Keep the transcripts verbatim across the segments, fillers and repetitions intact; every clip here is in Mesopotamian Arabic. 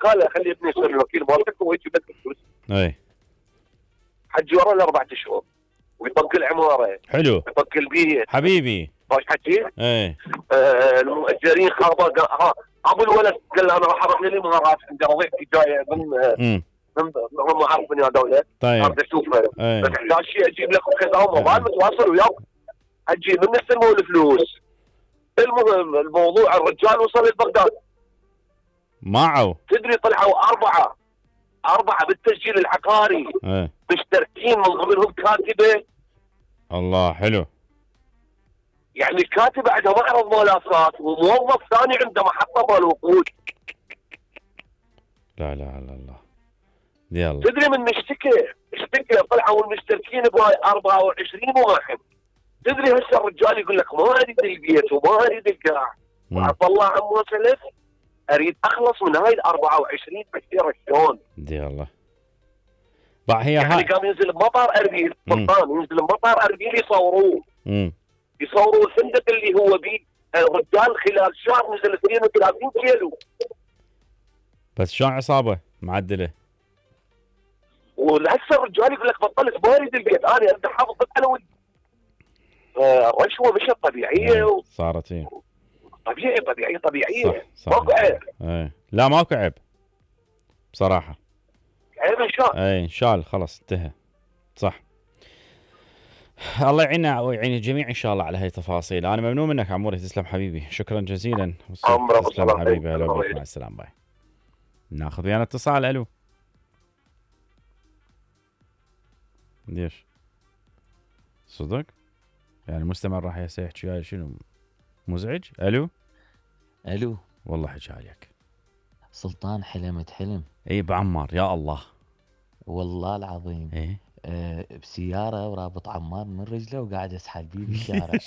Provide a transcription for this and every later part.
قال له خلي ابني يصير الوكيل مالتك ويجيب لك الفلوس. اي حجي ورا الاربع اشهر ويطق العماره، حلو يطق البيت حبيبي. باش حكي؟ اي آه المؤجرين خربوا. ها ابو الولد قال له انا راح اروح للامارات عند وظيفتي جايه من امم من ما اعرف من هذول. طيب اريد اشوفه اي بس احتاج شيء اجيب لك وكذا وموبايل متواصل وياه. حجي من استلموا الفلوس. المهم الموضوع الرجال وصل لبغداد. معه تدري طلعوا اربعه اربعه بالتسجيل العقاري اي مشتركين، من ضمنهم كاتبه. الله حلو. يعني كاتبه عندها معرض ملافات وموظف ثاني عنده محطه مال وقود. لا لا لا الله يلا. تدري من اشتكى اشتكى طلعوا المشتركين بهاي أربعة وعشرين واحد. تدري هسه الرجال يقول لك ما اريد البيت وما اريد القاع وعطى الله عمو سلف، اريد اخلص من هاي ال أربعة وعشرين بشيره شلون؟ دي الله. بقى هي يعني هاي قام ينزل بمطار اربيل، سلطان ينزل بمطار اربيل يصوروه. امم يصوروا الفندق اللي هو بيه. الرجال خلال شهر نزل اثنين وثلاثين كيلو. بس شو عصابه معدله. ولهسه الرجال يقول لك بطلت ما اريد البيت، انا اريد احافظ بس على ولدي. الرشوه مش طبيعيه و... صارت ايه طبيعي طبيعي طبيعيه. صح ماكو عيب. ايه لا ماكو عيب بصراحه. عيب انشال. ايه انشال خلص انتهى. صح. الله يعيننا ويعين الجميع ان شاء الله على هاي التفاصيل. انا ممنون منك عموري، تسلم حبيبي، شكرا جزيلا. تسلم حبيبي. هلا بك، مع السلامه. باي. ناخذ ويانا اتصال. الو ليش صدق يعني المستمع راح يحكي وياي شنو مزعج؟ الو الو والله حكي عليك سلطان. حلمت حلم. اي بعمار يا الله والله العظيم. ايه أه بسياره ورابط عمار من رجله وقاعد اسحل بيه بالشارع.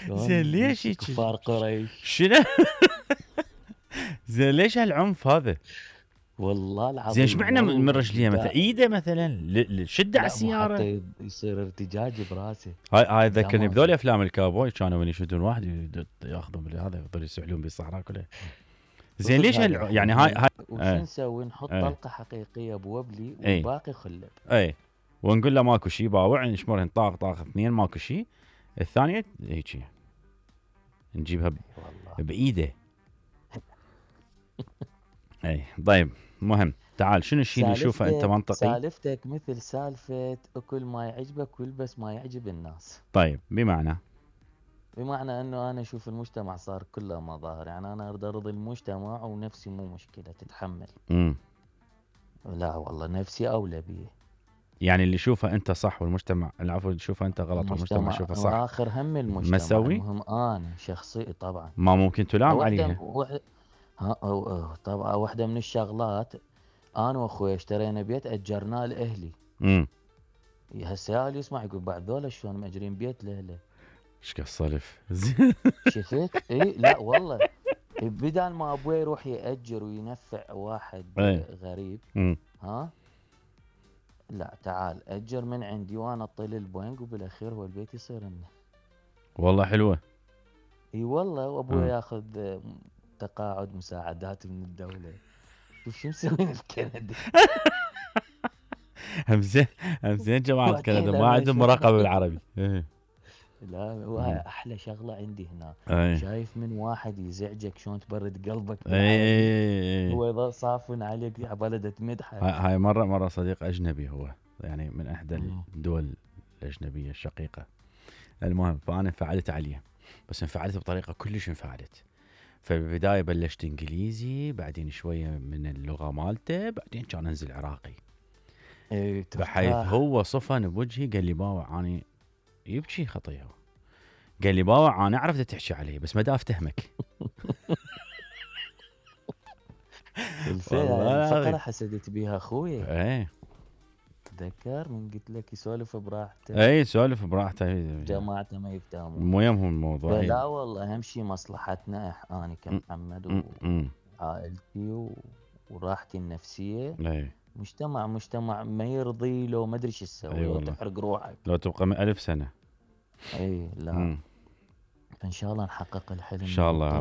زين ليش هيك؟ كفار قريش شنو؟ زين ليش هالعنف هذا؟ والله العظيم. زين ايش معنى من رجليه مثلا؟ ايده مثلا شده على السياره حتى يصير ارتجاج براسه. هاي هاي ذكرني بذول افلام الكاوبوي كانوا يشدون واحد ياخذون هذا يضلوا يسحلون بالصحراء كلها. زين ليش هال... يعني هاي هاي وش نسوي؟ نحط ايه. طلقه حقيقيه بوبلي والباقي ايه. خلب. اي ونقول له ماكو شيء باوع نشمرهن طاق طاق اثنين ماكو شيء. الثانيه هيك نجيبها ب... بايده. اي طيب مهم. تعال شنو الشيء اللي نشوفه انت منطقي؟ سالفتك مثل سالفه اكل ما يعجبك والبس ما يعجب الناس. طيب بمعنى بمعنى انه انا اشوف المجتمع صار كله مظاهر، يعني انا اريد ارضي المجتمع ونفسي مو مشكله تتحمل. امم لا والله نفسي اولى بيه. يعني اللي شوفه انت صح والمجتمع العفو اللي شوفه انت غلط والمجتمع يشوفه صح. واخر هم المجتمع مسوي؟ المهم انا شخصي طبعا ما ممكن تلام عليها. وح... ها أو أو طبعا واحده من الشغلات انا واخوي اشترينا بيت اجرناه لاهلي. امم هسه اللي يسمع يقول بعد ذولا شلون ماجرين بيت لاهله. ايش كالصلف. شفت؟ اي لا والله بدال ما ابوي يروح ياجر وينفع واحد ايه. غريب مم. ها لا تعال اجر من عندي وانا اطل البنك وبالاخير هو البيت يصير لنا. والله حلوه. اي والله. وابوي ياخذ تقاعد مساعدات من الدوله. شوف شو مسوين بكندا. هم زين هم زين جماعه كندا ما عندهم مراقبه بالعربي. لا وهاي احلى شغله عندي هنا. أي. شايف من واحد يزعجك شلون تبرد قلبك. اي هو يظل صافن عليك على بلده تمدحه. هاي مره مره صديق اجنبي هو يعني من احدى الدول الاجنبيه الشقيقه. المهم فانا انفعلت عليه بس انفعلت بطريقه كلش انفعلت. فبالبدايه بلشت انجليزي بعدين شويه من اللغه مالته بعدين كان انزل عراقي. اي بحيث هو صفن بوجهي قال لي باوع اني يبكي خطيه. قال لي باوع انا اعرف تحكي علي بس ما دا افتهمك. الفقره حسدت بيها اخوي. ايه تذكر من قلت لك يسولف براحته. اي يسولف براحته جماعته ما يفتهمون. مو يمهم الموضوع. لا والله اهم شيء مصلحتنا انا كمحمد وعائلتي وراحتي النفسيه. اي مجتمع مجتمع ما يرضي لو ما ادري شو تسوي. أيوة لو تحرق روحك لو تبقى ألف سنه. اي لا مم. ان شاء الله نحقق الحلم ان شاء الله.